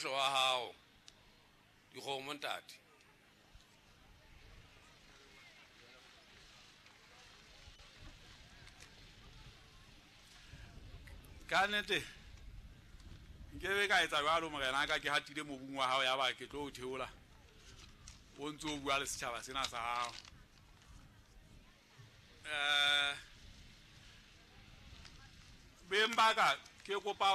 Wa hao dikgomo ntate. Ka nnete nkebe ka etsa jwalo morena ka ke hatile mobung wa hao ya ba ke tlo o theola o ntse o bua le setjhaba sena sa hao. Beng ba ka ke kopa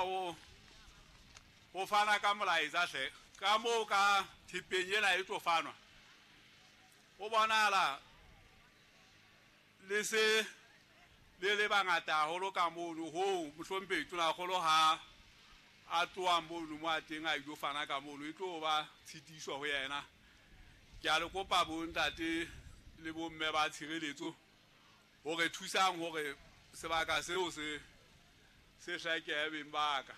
ho fana ka molaetsa hle ka moo ka thepeng ena e tlo fanwa ho bonahala le se le le bangata haholo ka mono hoo mohlomphehi Tonakgolo ha a tloha mono mo a teng a ilo fana ka mono e tlo ba tshitiso ho yena. Ke a le kopa bontate le bomme ba tshireletso hore thusang hore sebaka seo se se hlekehe beng ba ka.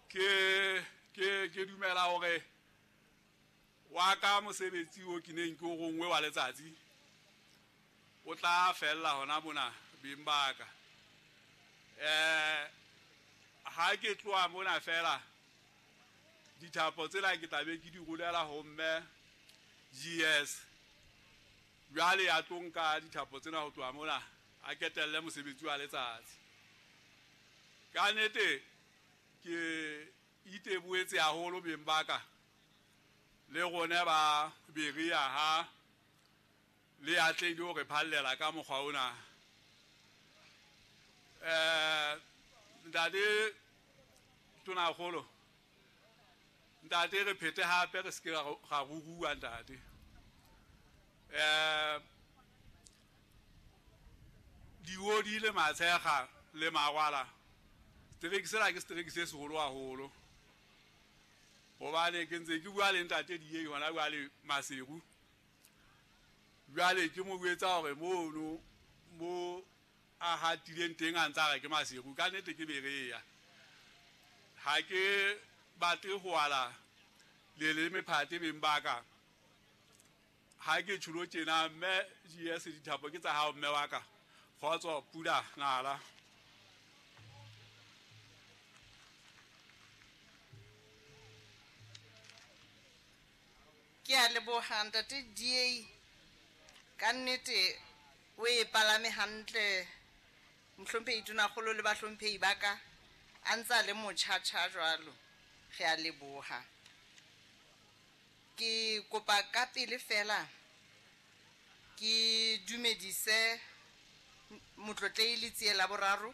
Ke dumela hore wa ka mosebetsi o ke neng ke o rongwe wa letsatsi o tla fella hona mona beng ba ka. Ha ke tloha mona fela dithapo tsena ke tla be ke di rolela ho mme GS jwale ya tlo nka dithapo tsena ho tloha mona a ketelle mosebetsi wa letsatsi. Ka nnete ke iteboetse haholo beng ba ka le rona ba Berea ha le atlehile ho re phallela ka mokgwa ona. Ntate Tonakgolo, ntate re phete hape re se ke ra ruruwa ntate. Diodi le matshekga le mawala setereke sena ke setereke se seholo haholo hobane ke ntse ke bua le ntate Diei hona jwale Maseru. Jwale ke mo jwetsa hore mono mo a hatileng teng a ntsa re ke Maseru, ka nnete ke Berea. Ha ke batle ho ala leleme phate beng ba ka. Ha ke tjhulo tjena mme GS dithapo ke tsa hao mme wa ka. Kgotso pula nala. Ke a leboha ntate DA, ka nnete o e palame hantle mohlomphehi Tonakgolo le bahlomphehi ba ka a ntse a le motjhatjha jwalo. Re a leboha. Ke kopa ka pele fela ke dumedise motlotlehi Letsie la boraro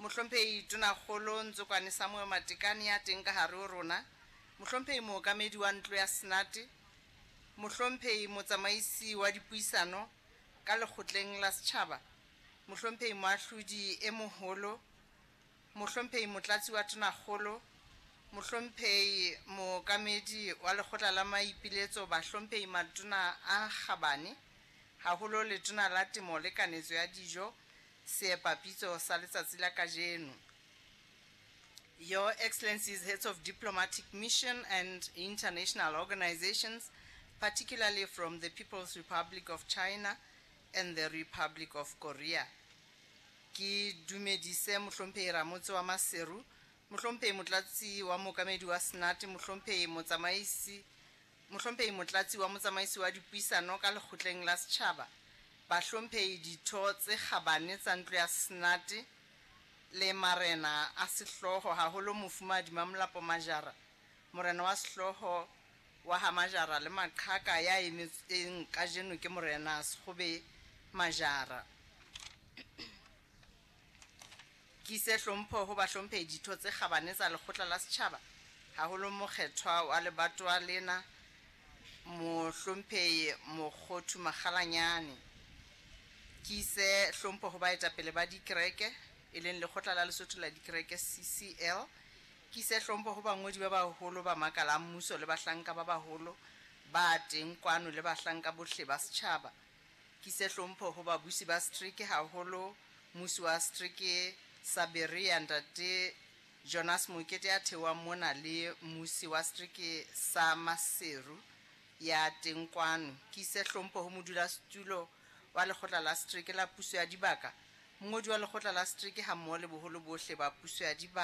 mohlomphehi Tonakgolo Ntsokwane Samuel Matekane ya teng ka hare ho rona, mohlomphehi mookamedi wa ntlo ya Senate, mohlomphehi motsamaisi wa dipuisano ka lekgotleng la setjhaba, mohlomphehi moahlodi e moholo, mohlomphehi motlatsi wa Tonakgolo, mohlomphehi mookamedi wa lekgotla la maipiletso, bahlomphehi matona a kgabane, haholo letona la temo le kanetso ya dijo, seepapitso sa letsatsi la kajeno. Your Excellencies, heads of diplomatic mission and international organizations, particularly from the People's Republic of China and the Republic of Korea. Ke dumedise mohlomphehi Ramotse wa Maseru, mohlomphehi motlatsi wa mookamedi wa Senate, mohlomphehi motsamaisi, mohlomphehi motlatsi wa motsamaisi wa dipuisano ka lekgotleng la setjhaba, bahlomphehi ditho tse kgabane tsa ntlo ya Senate le marena a sehlooho, haholo mofumahadi Mamolapo Majara, morena wa sehlooho wa ha Majara le maqhaka ya emetseng kajeno ke morena Sekgobe Majara. Ke ise hlompho ho bahlomphehi ditho tse kgabane tsa lekgotla la setjhaba, haholo mokgethwa wa lebatowa lena mohlomphehi Mokgothu Makgalanyane. Ke ise hlompho ho baetapele ba dikereke, e leng lekgotla la Lesotho la dikereke CCL. Ke ise hlompho ho bangodi ba baholo ba makala a mmuso le bahlanka ba baholo ba teng kwano le bahlanka bohle ba setjhaba. Ke ise hlompho ho babusi ba setereke, haholo mmusi wa setereke sa Berea ntate Jonas Mokete ya theohang mona le mmusi wa setereke sa Maseru ya teng kwano. Ke ise hlompho ho modulasetulo wa lekgotla la setereke la puso ya dibaka Mongodi wa lekgotla la setereke hammoho le boholo bohle ba puso ya dibaka.